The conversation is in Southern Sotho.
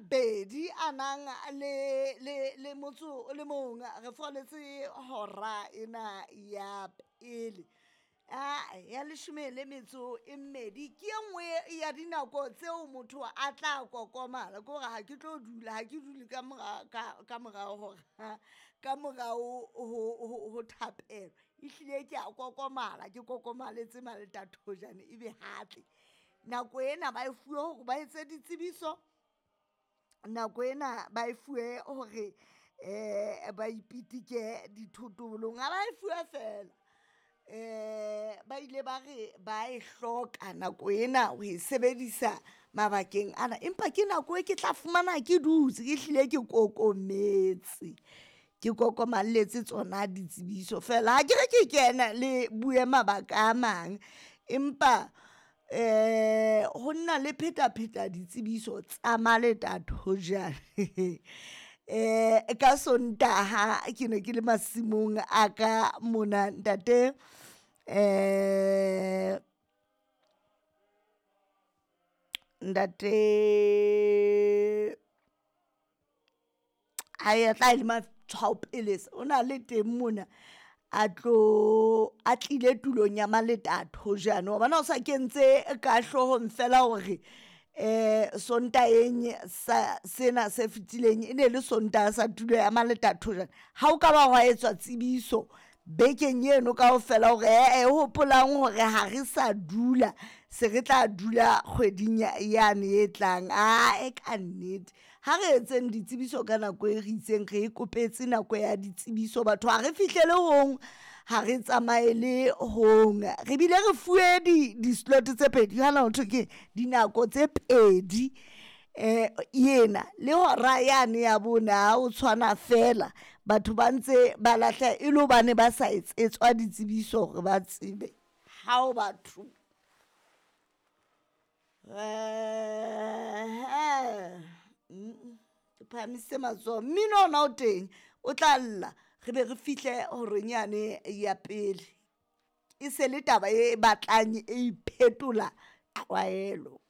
2 a nang le motso o le mong, re foletse hora ena ya pele. Ya 12 ke e nngwe ya dinako tseo motho a tla kokomala. Ke hore ha ke tlo dula, ha ke dule ka mora ka morao hora ka morao ho thapelo. Ehlile ke a kokomala, ke kokomaletse maletatojane ebe hatle. Nako ena ba e fuwe hore ba etse ditsebiso, nako ena ba e fuwe hore ba ipitike dithotobolong, ha ba e fuwa feela. Ba ile ba re ba e hloka nako ena ho e sebedisa mabakeng ana, empa ke nako e ke tla fumana ke dutse ke hlile ke kokometse. Ke kokomalletse tsona ditsebiso feela, akere ke kena le bue mabaka a mang, empa ho nna le phetapheta ditsebiso tsa maletathojane. Ka Sontaha ke ne ke le masimong a ka mona ntate ntate tla le Matshwao Pelesa o na le teng mona a tlo a tlile tulong ya Maletathojane wa bona o sa kentse ka hloohong feela hore Sontaheng sa sena se fetileng e ne le Sontaha sa tulo ya Maletathojane. Ha o ka ba hwa etswa tsebiso bekeng eno kaofela hore ee hopolang hore ha re sa dula se re tla dula kgweding yane e tlang. Ae ka nnete, ha re etseng ditsebiso ka nako e re itseng re e kopetse nako ya ditsebiso batho ha re fihlele hong, ha re tsamaele hong. Re bile re fuwe di-slot tse pedi hana ho thwe keng dinako tse pedi ena le hora yane ya bone ha o tshwana feela. Batho ba ntse ba lahleha e le hobane ba sa etsetswa ditsebiso hore ba tsebe. Hao batho! Ke phahamisitse matsoho, mmino ona o teng o tla lla re be re fihle horeng yane ya pele. E se le taba e batlang e iphetola tlwaelo.